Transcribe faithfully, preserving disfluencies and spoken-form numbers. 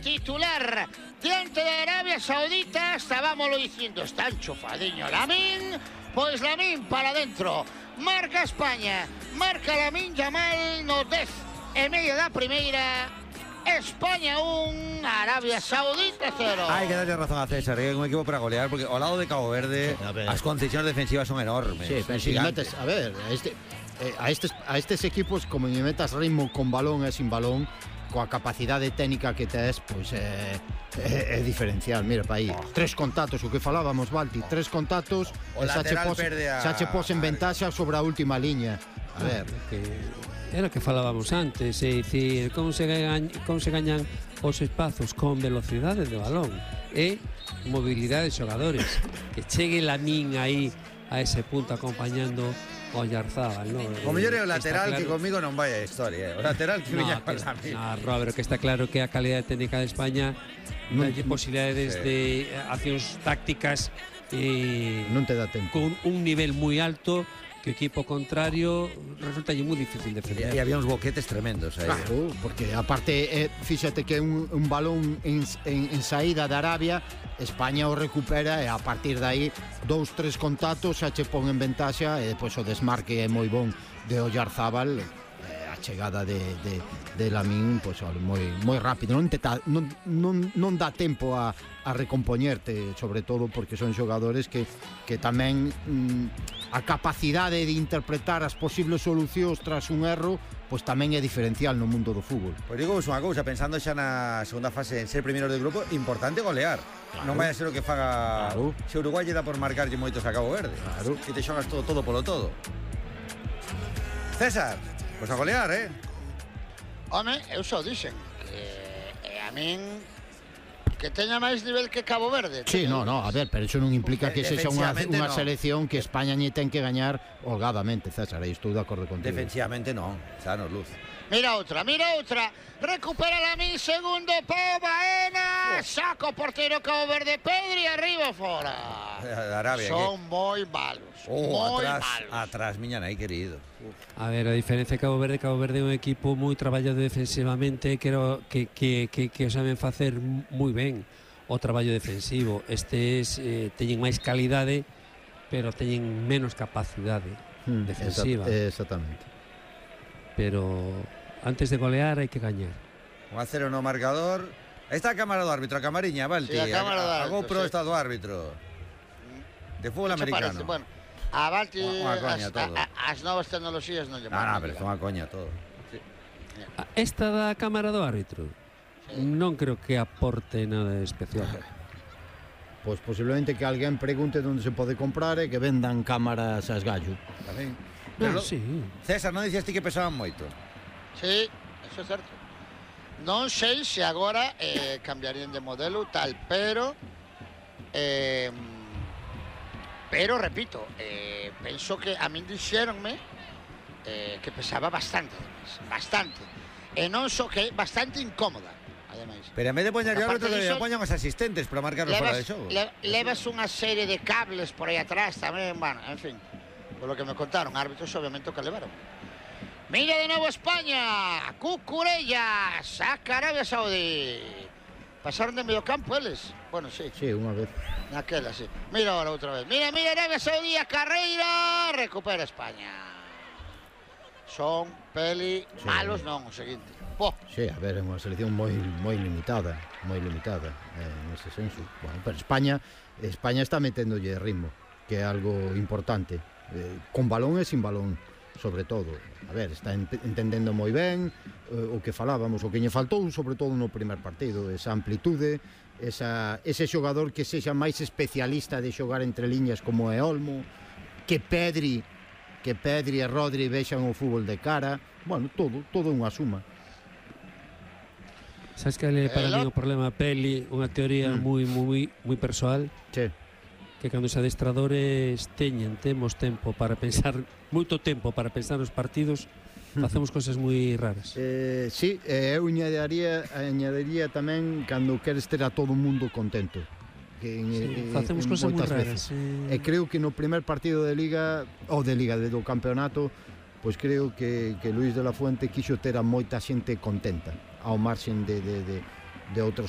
titular diante de Arabia Saudita. Estábamos diciendo, está enchufadiño Lamine, pois Lamine para dentro, marca España, marca Lamine Yamal no dez e medio da primeira. España un, Arabia Saudita cero. Hay que darle razón a César, es un equipo para golear, porque al lado de Cabo Verde las concesiones defensivas son enormes. Sí, pero si metes, a ver, a, este, eh, a, estes, a estes equipos, como me metas ritmo con balón e sin balón, coa capacidade técnica que tes, pois é, é, é diferencial. Mira, pa aí, oh. tres contactos, o que falábamos, Balti, tres contactos, o xa che pos, a... xa che pos en ventaxa sobre a última liña. A ver, que era o que falábamos antes, é dicir, como se gañan, como se gañan os espazos con velocidade de balón e mobilidade de xogadores, que chegue Lamine aí a ese punto acompañando o Oyarzábal, ¿no? O mellor é o lateral, claro, que comigo non vai a historia, eh? O lateral que no, viña que, con Lamine. No, Robert, que está claro que a calidade técnica de España non hai posibilidades sí. de accións tácticas eh, non te dá tempo con un nivel moi alto que o equipo contrario resulta moi difícil defender. E había uns boquetes tremendos aí. Claro, porque aparte, eh, fíxate que un, un balón en, en, en saída de Arabia, España o recupera e a partir de aí dous, tres contactos xa che pon en ventaxa e depois o desmarque é moi bon de Oyarzábal, eh, a chegada de, de, de Lamine, pois moi, moi rápido, non, te ta, non, non, non dá tempo a, a recompoñerte, sobre todo porque son xogadores que, que tamén mm, a capacidade de interpretar as posibles solucións tras un erro, pois tamén é diferencial no mundo do fútbol. Pois digo unha cousa, pensando xa na segunda fase en ser primeiro de grupo, importante golear. Claro. Non vai a ser o que faga claro. Se Uruguai lle dá por marcarlle moitos a Cabo Verde. Claro. Que te xogas todo, todo polo todo. César, pois a golear, eh? Home, eu só dixen que eh, a min que teña máis nivel que Cabo Verde. Sí, no, no, a ver, pero eso non implica que sexa unha, unha no. selección que España lle ten que gañar holgadamente, César, aí estou de acordo contigo. Defensivamente non, xa nos luz. Mira outra, mira outra, recupera Lamine, segundo Pau Baena, oh. saca o portero Cabo Verde, Pedri, arriba fora. Arabia, son que... moi malos, oh, moi atrás, malos. Atrás, miña nai querido. Uf. A ver, a diferencia de Cabo Verde, Cabo Verde é un equipo moi traballado defensivamente, que, que, que, que, que o saben facer moi ben o traballo defensivo. Estes eh, teñen máis calidade, pero teñen menos capacidade mm, defensiva. Exactamente. Pero antes de golear hai que gañar. un a cero no marcador. Aí está a cámara do árbitro, a camariña, Balti. Sí, a cámara do árbitro. A GoPro sí. está do árbitro. De fútbol americano. Parece? Bueno, a Balti unha coña, as, todo. a, a, as novas tecnoloxías non lle Non, non, pero é unha coña todo. Sí. Esta da cámara do árbitro sí. non creo que aporte nada especial. Pois posiblemente que alguén pregunte onde se pode comprar e que vendan cámaras a esgallo. Tamén. Pero, ah, sí. César, non dicías ti que pesaban moito? Sí, eso é certo. Non sei se agora eh, cambiarían de modelo tal, pero eh, pero repito, eh, penso que a min dixéronme eh, que pesaba bastante, bastante. E non só que é bastante incómoda, ademais. Pero en vez de poñer o árbitro, que poñan os asistentes para marcarlos fora de xogo. Le, levas unha serie de cables por aí atrás tamén, bueno, en fin. Por lo que me contaron, árbitros obviamente o que levaron. Mira de novo España, Cucurella, saca Arabia Saudí. Pasaron de medio campo eles. Bueno, sí. Sí, unha vez. Naquela, sí. Mira ahora outra vez. Mira, mira Arabia Saudí, a carreira, recupera España. Son peli sí. malos, non, o seguinte. Po. Sí, a ver, é unha selección moi moi limitada, moi limitada, eh, nese senso. Bueno, pero España, España está meténdolle ritmo, que é algo importante. Eh, con balón e sin balón, sobre todo. A ver, está ent entendendo moi ben eh, o que falábamos, o que lle faltou sobre todo no primer partido, esa amplitude, esa, ese xogador que sexa máis especialista de xogar entre liñas como é Olmo, que Pedri que Pedri e Rodri vexan o fútbol de cara, bueno, todo, todo unha suma. Sabes que é para mí o problema Peli, unha teoría mm. moi, moi, moi persoal? Sí. Que cando os adestradores teñen, temos tempo para pensar, moito tempo para pensar nos partidos, facemos cosas moi raras. Eh, sí, eh, eu añadiría, añadiría tamén cando queres ter a todo o mundo contento. Que en, sí, en, facemos en cosas moi veces. raras. Eh... E creo que no primer partido de Liga, ou de Liga, do campeonato, pois creo que, que Luís de la Fuente quixo ter a moita xente contenta, ao marxen de, de, de, de outros